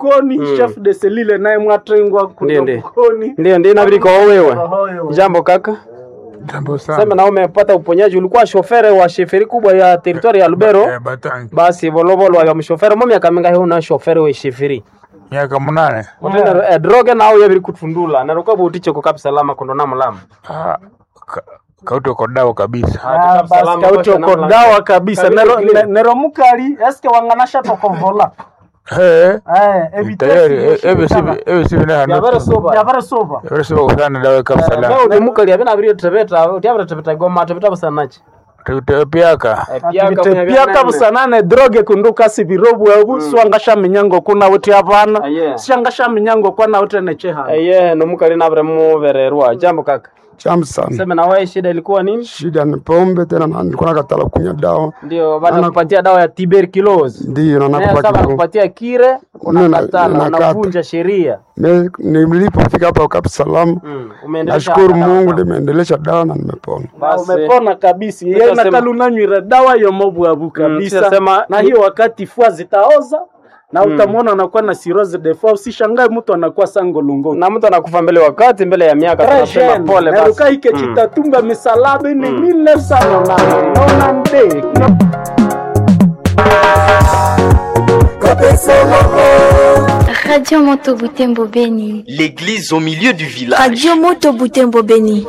Bukoni, chef de cellule naye mwatengwa Ndiyo, kuno ndiyo. Bukoni. Ndio, ndio inabidi kwa wewe. Ohoyo. Jambo kaka. Jambo sana. Sema na umepata uponyaji, ulikuwa shofere wa sheferi kubwa ya territory ya Lubero. Eh, Batangi. Basi volovolo wa mshofere mo miaka mingahi una shofere we sheferi. Miaka 8. Utenda droge nawo yabiri kutundula na rukabu utichoko kabisa lama kondo na mulamu. Ah, kauto kodawa kabisa. Ah, basi kauti uko dawa kabisa. Kabisa Nero, clean. nero mukali eske wanganasha tokovola. Eh. Eh, Tayari ebe sibi ebe sibi na hano. Yabere soba. Yabere soba. Yabere soba kusana dawa kabisa la. Leo ulimukali abina abiri tebeta, utiabira tebeta goma tebeta busanachi. Tutepiaka. Piaka busanane droge kunduka sibirobwe obu swangasha minyango kuna uti abana Aye. shangasha minyango kwana uti necheha. Eye nomukali nabire mubererwa. Jambo kaka. Chamu sana. Sema na wewe shida ilikuwa nini? Shida ni pombe tena, na nilikuwa nakatala kunywa dawa, Ndio baada kupatia dawa ya tuberculosis. ndiyo na Naye nakupa sasa kidogo. kupatia kire unakatala, nakata. unavunja sheria. Nilipofika hapa Kapu Salamu, Umeendelesha nashukuru dawa. Mungu nimeendelesha dawa na nimepona. Na Basi. umepona kabisa. Yeye Tutasema- nakala unanywira dawa yomobwabu kabisa. tutasema- Na hiyo wakati fua zitaoza na utamwona anakuwa na cirrhose de foie. Usishangae mtu anakuwa sangolongo. Na mtu anakufa mbele wakati mbele ya miaka tunasema pole basi. Naruka ike chitatumba misalaba ni 1992. Radio Moto Butembo Beni. L'église au milieu du village. Radio Moto Butembo Beni.